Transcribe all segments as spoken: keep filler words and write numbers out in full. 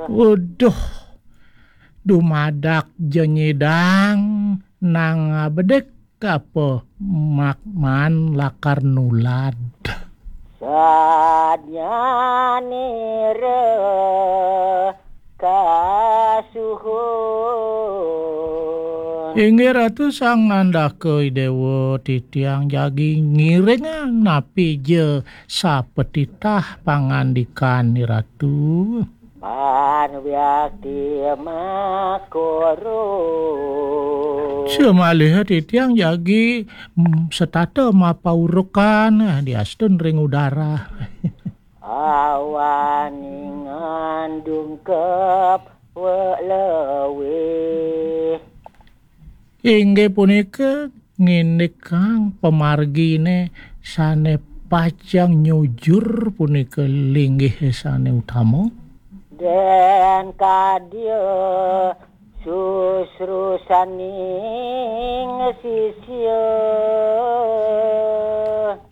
Waduh, dumadak ja nyidang nang bedik apa mak maan lakar nulad. Sadnyanira kasuhun. Inggih Ratu, Sang Nandaka Idewa titiang jagi ngiringang napi ja sapatitah pangandikan Ratu. Pan wiakti makoro. Samaliha titiang jagi, mm, setata mapaurukan, eh, diastun ring udara. Awaning ngandung kep welewih. Inggih punika ngindikang pamargine sane pacang nyujur punika linggih sane utama. Den kadya susrusaning sisya.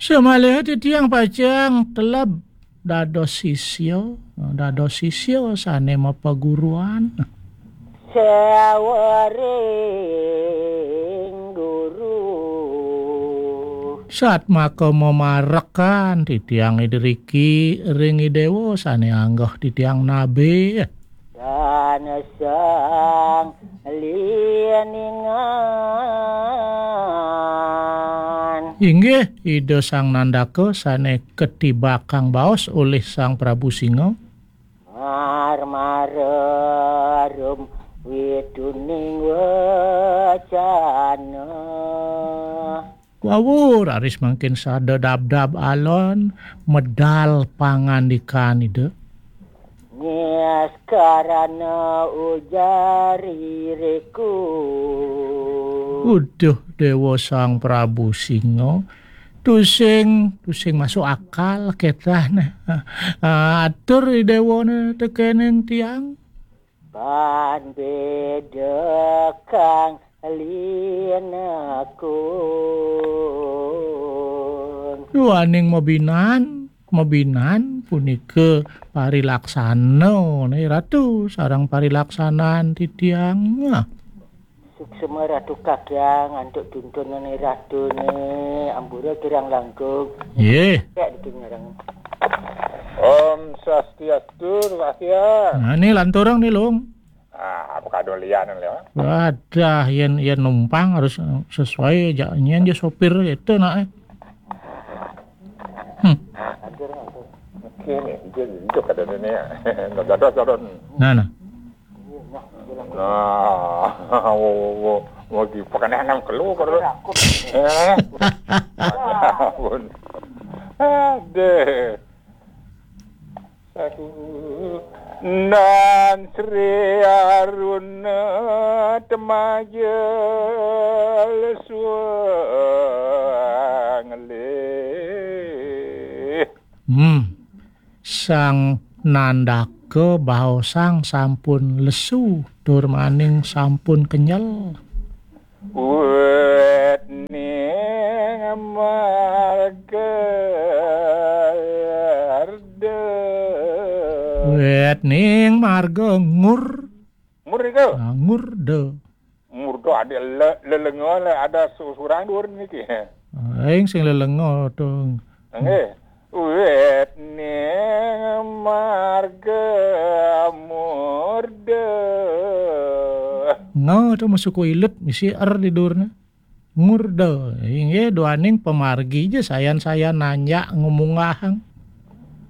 Samaliha titiang pacang teleb dados sisya, dados sisya sane mapaguruan. Sawering guru. Satmaka mamarekan titiang idiriki ring Idewa sane anggeh titiang nabe. Dan sang liningan. Inggih, Ida Sang Nandaka sane katibakang baos olih Sang Prabu Singa. Marmara rum wituning wacana. Wawur, raris mangkin sada dabdab alon, medal pangandikan Ida. Niskarana ujar iriku. Uduh, Dewa Sang Prabu Singa, tusing, tusing masuk akal ketah nah. Ah, atur Dewana tekening tiang. Pan beda kang linakun. Duaning mabinan, mabinan punika parilaksana, ne Ratu, sareng parilaksanan titiang. Suksma Ratu Kakyang antuk tuntunane Ratune, ampura kirang langkung. Nggih. Ya, ditu ngarang. Om Swastiastu, Pak Kyang. Nah, ini lanturang nih, Lung. Ah, apa kado lianan, Lung? Wadah, yen, yen numpang harus, eh, sesuai ja, nyen ja sopir itu nak, eh. Hmm. Oke nih, itu, itu kado ini ya. Dados, dados. Nah, nah. Nah, wo, wo, wo, wo, di pakai nang kelu kado. Eh. Ampun. Aduh. Aduh. Nan Sri Aruna Temaja Lesuang Lih. Hmm. Sang Nandaka baosang sampun lesu, tur maning sampun kenyel. Wit ning marga arda. Wit ning marga ngur. Ngur niku? Ah, ngurda. Ngurda adik le-, lelenga le ada su-, surang dhuwur niki. Aing sing lelenga to. Nggih. Wit ning marga murda. Nga to masuku ilut misi er di durna. Ngurda. Inggih duaning pamargi ja sayan-sayan nanjak ngumunggahang.